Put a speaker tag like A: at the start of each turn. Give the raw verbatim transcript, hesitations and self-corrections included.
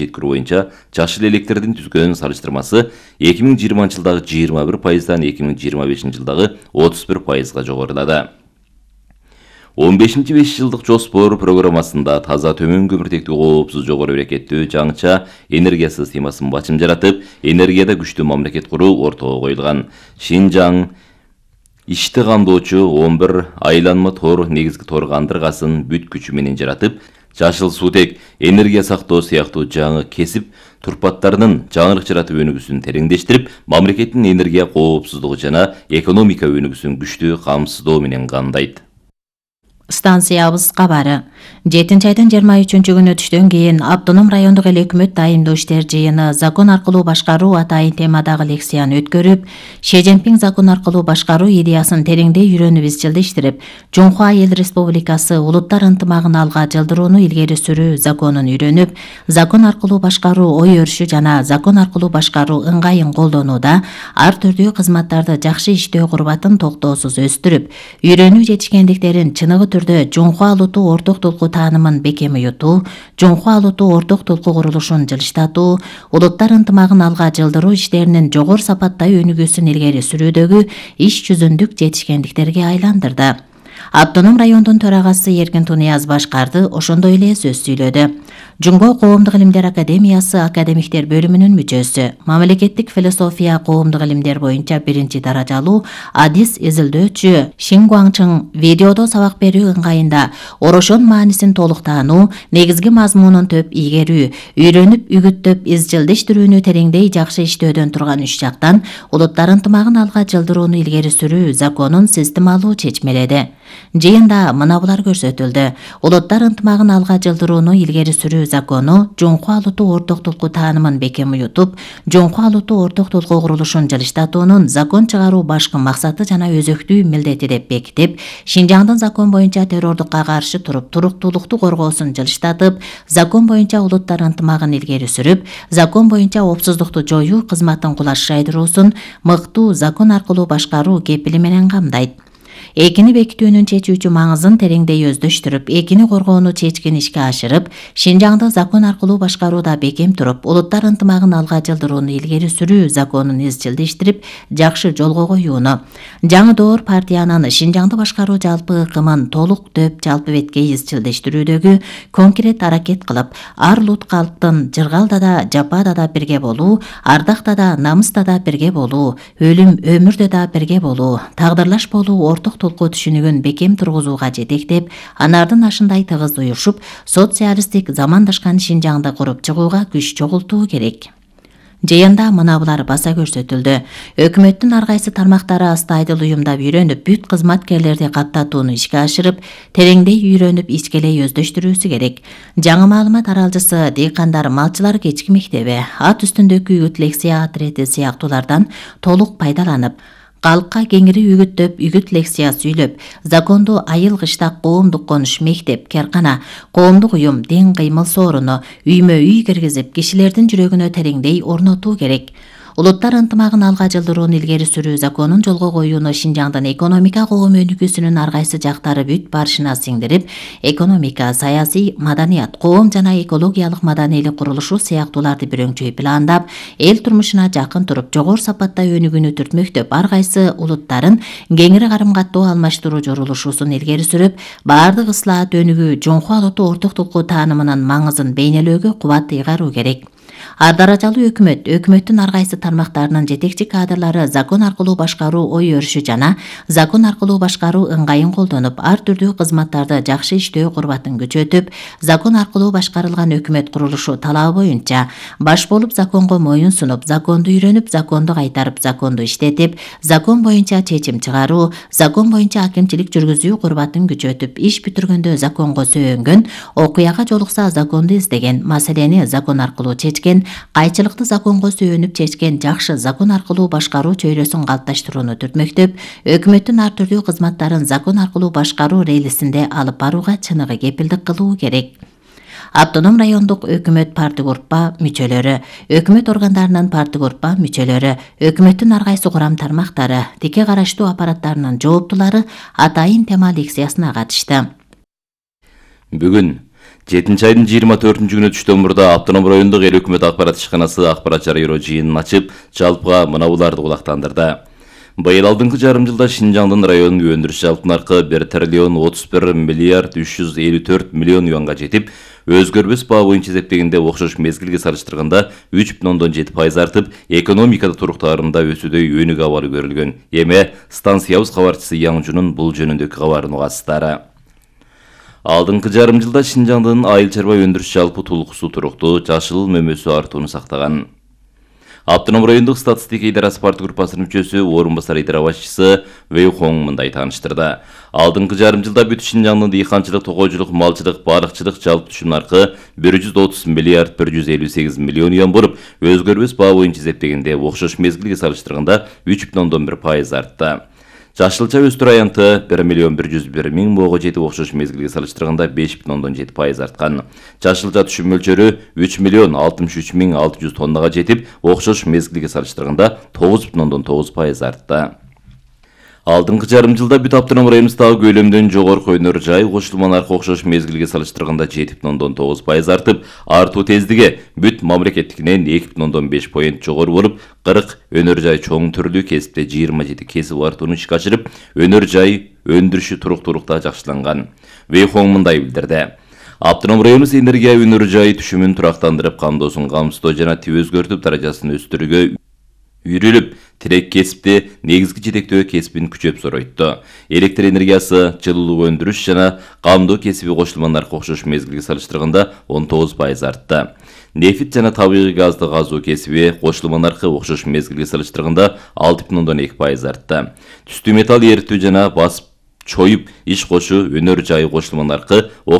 A: жеткирүү боюнча жашыл электрдин түзгөн салыштырмасы эки миң жыйырманчы жылдагы жыйырма бир пайыздан эки миң жыйырма бешинчи жылдагы отуз бир пайызга жогорулады. он бешинчи беш жылдык жоспор программасында таза төмөн көмүртектүү коопсуз жогору берекеттүү жаңыча энергия системасын бачым жаратып, энергияда күчтүү мамлекет куруу ортого коюлган. Шинжаң ишти камдоочу он бир айланма тор негизги тор кандыргасын бүт күчү менен жаратып, жашыл суутек, энергия сактоо сыяктуу жаңы кесип турпаттарынын жаңырык жаратып өнүгүүсүн тереңдештирип, мамлекеттин энергия коопсуздугу жана экономика өнүгүүсүн күчтүү камсыздоо менен камдайт.
B: Станциябыз кабары. жетинчи айдын жыйырма үчүнчү күнү түштөн кийин Автоном райондук эл өкмөт дайымдоо иштер жыйыны закон аркылуу башкаруу атайын темадагы лекцияны өткөрүп, Ши Цзиньпин закон аркылуу башкаруу идеясын тереңдей үйрөнүп изчилдештирип, Жунхуа Эл Республикасы улуттар ынтымагын алга жылдырууну илгери сүрүү законун үйрөнүп, закон аркылуу башкаруу ой өрүшү жана закон аркылуу башкаруу ыңгайын колдонууда ар түрдүү кызматтарды жакшы иштөө курбатын токтоосуз өстүрүп, үйрөнүү жетишкендиктерин чыныгы түрдө Жунхуа улуттуу орток толку таанымын бекем уютуу, Жунхуа улуттуу орток толку курулушун жылыштатуу, улуттар ынтымагын алга жылдыруу иштеринин жогору сапаттай өнүгүүсүн илгери сүрүүдөгү иш жүзүндүк жетишкендиктерге айландырды. Автоном райондун төрагасы Эркин Тунияз башкарды, ошондой эле сөз сүйлөдү. Жумго коомдук илимдер академиясы академиктер бөлүмүнүн мүчөсү, мамлекеттик философия коомдук илимдер боюнча биринчи даражалуу адис изилдөөчү Шин Гуаңчың видеодо сабак берүү ыңгайында орошон маанисин толук таануу, негизги мазмунун төп ийгерүү, үйрөнүп үгүттөп изчилдештирүүнү тереңдей жакшы иштөөдөн турган үч жактан улуттар ынтымагын алга жылдырууну илгери сүрүү законун системалуу чечмеледи. Жыйында мына булар көрсөтүлдү. Улуттар ынтымагын алга жылдырууну илгери сүрүү закону Жунхуа улуттуу орток толку таанымын бекем уютуп, Жунхуа улуттуу орток толку курулушун жылыштатуунун закон чыгаруу башкы максаты жана өзөктүү милдети деп бекитип, Шинжаңдын закон боюнча террордукка каршы туруп, туруктуулукту коргоосун жылыштатып, закон боюнча улуттар ынтымагын илгери сүрүп, закон боюнча опсуздукту жоюу кызматын кулаш жайдыруусун мыктуу закон аркылуу башкаруу кепили менен камдайт. Экини бекитүүнүн чечүүчү маңызын тереңдей өздөштүрүп, экини коргоону чечкин ишке ашырып, Шинжаңды закон аркылуу башкарууда бекем туруп, улуттар ынтымагын алга жылдырууну илгери сүрүү законун изчилдештирип, жакшы жолго коюуну. Жаңы доор партиянын Шинжаңды башкаруу жалпы ыкымын толук дөп жалпы бетке изчилдештирүүдөгү конкрет аракет кылып, ар улут калктын жыргалда да, жапада да бирге болуу, ардакта да, намыста да бирге болуу, өлүм өмүрдө да бирге болуу, тагдырлаш болуу орток толку түшүнүгүн бекем тургузууга жетектеп, анардын ашындай тыгыз уюшуп, социалисттик замандашкан Шинжаңды куруп чыгууга күч чогултуу керек. Жыйында мына булар баса көрсөтүлдү. Өкмөттүн ар кайсы тармактары астайдыл уюмдап үйрөнүп, бүт кызматкерлерди каттатууну ишке ашырып, тереңдей үйрөнүп, ичкелей өздөштүрүүсү керек. Жаңы маалымат аралжысы, дыйкандар, малчылар кечки мектеби, ат үстүндөгү үгүт лекция отрети сыяктуулардан толук пайдаланып, калкка кеңири үгүттөп, үгүт лекция сүйлөп, законду айыл кыштак коомдук конуш мектеп, керкана, коомдук уюм, ден кыймыл сооруну үймө үй киргизип, кишилердин жүрөгүнө тереңдей орнотуу керек. Улуттар ынтымагын алга жылдырууну илгери сүрүү законун жолго коюуну Шинжаңдын экономика коом өнүгүүсүнүн ар кайсы жактары бүт барышына сиңдирип, экономика, саясий, маданият, коом жана экологиялык маданийлик курулушу сыяктууларды бирөңчөй пландап, эл турмушуна жакын туруп, жогору сапаттай өнүгүүнү түртмөктөп, ар кайсы улуттарын кеңири карым каттоо алмаштыруу жорулушуусун илгери сүрүп, баардык ыслаат өнүгүү Жунхуа улуттуу орток толку таанымынын маңызын бейнелөөгө кубат ыйгаруу керек. Ар даражалуу өкмөт, өкмөттүн ар кайсы тармактарынын жетекчи кадрлары закон аркылуу башкаруу ой өрүшү жана закон аркылуу башкаруу ыңгайын колдонуп, ар түрдүү кызматтарды жакшы иштөө курбатын күчөтүп, закон аркылуу башкарылган өкмөт курулушу талабы боюнча баш болуп законго моюн сунуп, законду үйрөнүп, законду кайтарып, законду иштетип, закон боюнча чечим чыгаруу, закон боюнча акимчилик жүргүзүү курбатын күчөтүп, иш бүтүргөндө законго сөөнгөн, окуяга жолукса законду издеген, маселени закон аркылуу чечкен, кайчылыкты законго сүйөнүп чечкен, жакшы закон аркылуу башкаруу чөйрөсүн калыпташтырууну түртмөктөп, өкмөттүн ар түрдүү кызматтарын закон аркылуу башкаруу рейлисинде алып барууга чыныгы кепилдик кылуу керек. Автоном райондук өкмөт партигруппа мүчөлөрү, өкмөт органдарынын партигруппа мүчөлөрү, өкмөттүн ар кайсы курам тармактары, тике караштуу аппараттарынын жооптулары атайын тема лекциясына катышты.
A: Бүгүн жетинчи айдын жыйырма төртүнчү күнү түштөн мурда Автоном райондук эл өкмөт акпарат ишканасы акпарат жарыялоо жыйынын ачып, жалпыга мына буларды кулактандырды. Быйыл алдыңкы жарым жылда Шинжаңдын районунун өндүрүш жалпы наркы бир триллион отуз бир миллиард үч жүз элүү төрт миллион юанга жетип, өзгөрбөс баа боюнча эсептегенде окшош мезгилге салыштырганда үч бүтүн ондон жети пайыз артып, экономикада туруктаарында өсүүдөй өнүк абалы көрүлгөн. Эми станциябыз кабарчысы Яңжунун бул жөнүндөгү кабарын угасыздар. Алдыңкы жарым жылда Шинжаңдын айыл чарба өндүрүш жалпы тулкусу туруктуу, жашыл мөмөсү артууну сактаган. Автоном райондук статистика идарасы парт группасынын мүчөсү, орун басар идара башчысы Вэй Хон мындай тааныштырды. Алдыңкы жарым жылда бүт Шинжаңдын дыйканчылык, токойчулук, малчылык, барыкчылык жалпы түшүм наркы бир жүз отуз миллиард бир жүз элүү сегиз миллион юан болуп, өзгөрбөс баа боюнча эсептегенде окшош мезгилге салыштырганда үч бүтүн ондон бир пайыз артты. Жашылча өстүр аянты бир миллион бир жүз бир миң моого жетип, окшош мезгилге салыштырганда беш бүтүн ондон жети пайыз арткан. Жашылча түшүм мөлчөрү үч миллион алтымыш үч миң алты жүз тоннага жетип, окшош мезгилге салыштырганда тогуз бүтүн ондон тогуз пайыз артты. Алдыңкы жарым жылда бүт Автоном районубуздагы көлөмдөн жогорку өнөр жай кошулма наркы окшош мезгилге салыштырганда жети бүтүн ондон тогуз пайыз артып, артуу тездиги бүт мамлекеттикинен эки бүтүн ондон беш поинт жогору болуп, кырк өнөр жай чоң түрлүү кесипте жыйырма жети кесип артууну ишке ашырып, өнөр жай өндүрүшү туруктуулукта жакшыланган. Вэй Хон мындай билдирди. Автоном районубуз энергия өнөр жай түшүмүн турактандырып, камдоосун камсыздоо жана тип өзгөртүп даражасын өстүрүүгө үйрүлүп, тирек кесипти негизги жетектөө кесибин күчөп соройту. Электр энергиясы, жылуулук өндүрүш жана камдоо кесиби кошулма наркы окшош мезгилге салыштырганда он тогуз пайыз артты. Нефит жана табигый газды казуу кесиби кошулма наркы окшош мезгилге салыштырганда алты бүтүн ондон эки пайыз артты. Түстүү металл эритүү жана басып чоюп иш кошуу өнөр жайы кошулма наркы